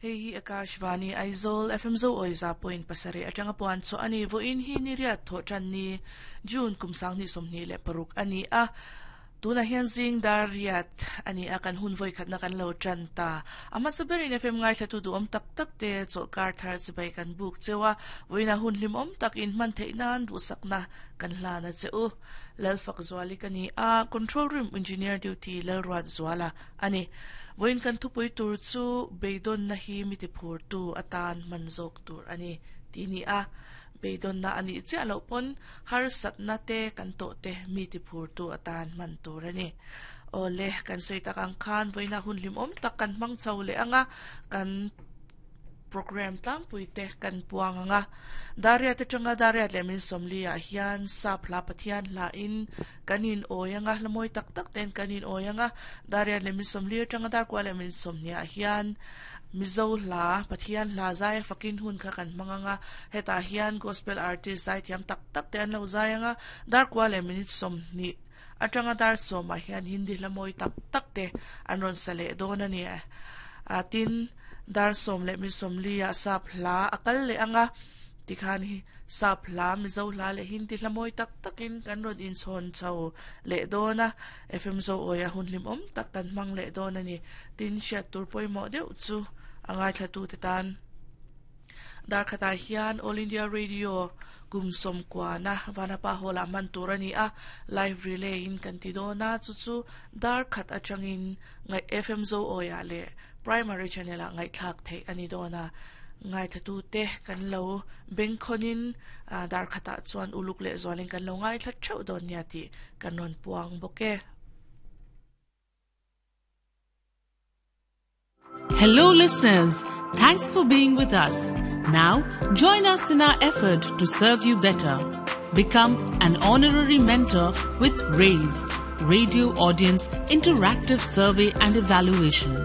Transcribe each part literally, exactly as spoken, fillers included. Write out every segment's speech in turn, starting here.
Hei Akashvani Aizawl F M zo oiza point pasare atanga puan chu ani vo in hi ni riat tho than ni June kumsang ni somni le paruk ani a tuna hian zing dar riat ani a kan hun voi khatna kan lo tran ta ama saberin F M ngai thla tu du om tak tak te chokar thar chibai kan buk chewa voina hun hlim om tak in man theinan du sakna kan hlana cheu lalfak zwali kani a control room engineer duty lalruat zwala ani voin kan thupui tur chu beidon na hi miti phur tu atan manjok tur ani tini a beidon na ani che alo pon har satna te kan to te miti phur tu atan man tur ani ole kan sei takang khan voina hun lim om tak kan mang chau le anga kan program tlang pui te kan puang anga daria te tanga daria le min somli a hian sap hla pathian hla in kanin oyanga hlamoi tak tak ten kanin oyanga daria le min somli tanga dar kwa le min somnia hian mizo hla pathian hla zai fakin hun kha kan manganga heta hian gospel artist zai thiam tak tak te an lo zai anga dar kwa le min somni atanga dar soma hian hindi hlamoi tak tak te an ron sale don ani a tin dar som le mi som li a sap hla akal le anga tikhan hi sap hla mizo hla le hindi hlamoi tak takin kan ron in chon chau le dona F M zo oya hun lim om tak kan mang le dona ni tin sha tur poi mo deuh chu angai thla tu te tan dar khata hian All India Radio kum som kwa na vanapa hola man turani a live relay in kan ti dona chu chu dar khat atangin ngai F M zo oya le primary channel a ngai thak thei ani dona ngai thatu te kan lo bengkhonin dar khata chuan uluk le zwalin kan lo ngai thlat theu don nia ti kan ron puang boke. Hello listeners, thanks for being with us. Now join us in our effort to serve you better. Become an honorary mentor with RAISE, Radio Audience Interactive Survey and Evaluation,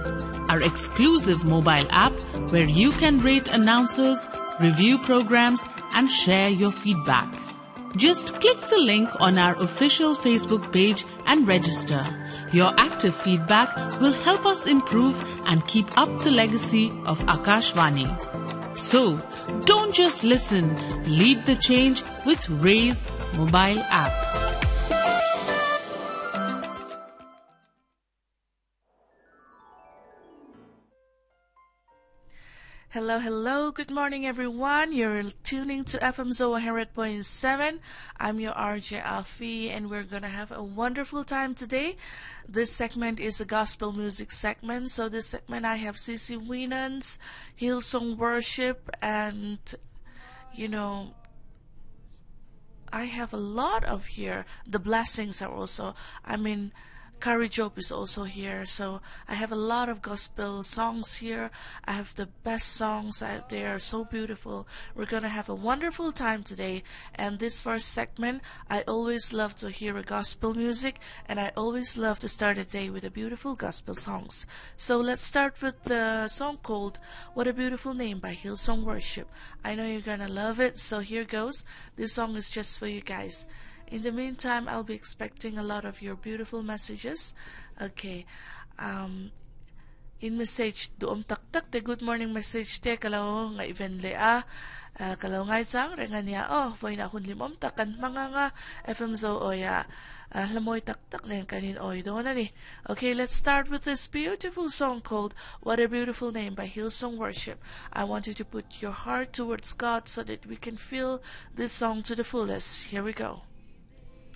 our exclusive mobile app where you can rate announcers, review programs and share your feedback. Just click the link on our official Facebook page and register. Your active feedback will help us improve and keep up the legacy of Akashvani. So, don't just listen, lead the change with RAISE mobile app. Hello, hello. Good morning, everyone. You're tuning to F M Zo one hundred point seven. I'm your R J Alfie, and we're gonna have a wonderful time today. This segment is a gospel music segment. So this segment, I have C C Winans, Hillsong Worship, and, you know, I have a lot of here. The blessings are also, I mean, Kari Job is also here, so I have a lot of gospel songs here. I have the best songs out there, so beautiful. We're gonna have a wonderful time today. And this first segment, I always love to hear a gospel music, and I always love to start a day with a beautiful gospel songs. So let's start with the song called What a Beautiful Name by Hillsong Worship. I know you're gonna love it, so here goes. This song is just for you guys. In the meantime, I'll be expecting a lot of your beautiful messages. Okay. Um, in message, duom tak tak te good morning message te kalaw nga event le a. Uh, kalaw ngay chang renga niya oh voina hun limom tak kan mga nga F M zo oya. Uh, lamoy tak tak na kanin oy do na ni. Okay, let's start with this beautiful song called What a Beautiful Name by Hillsong Worship. I want you to put your heart towards God so that we can feel this song to the fullest. Here we go.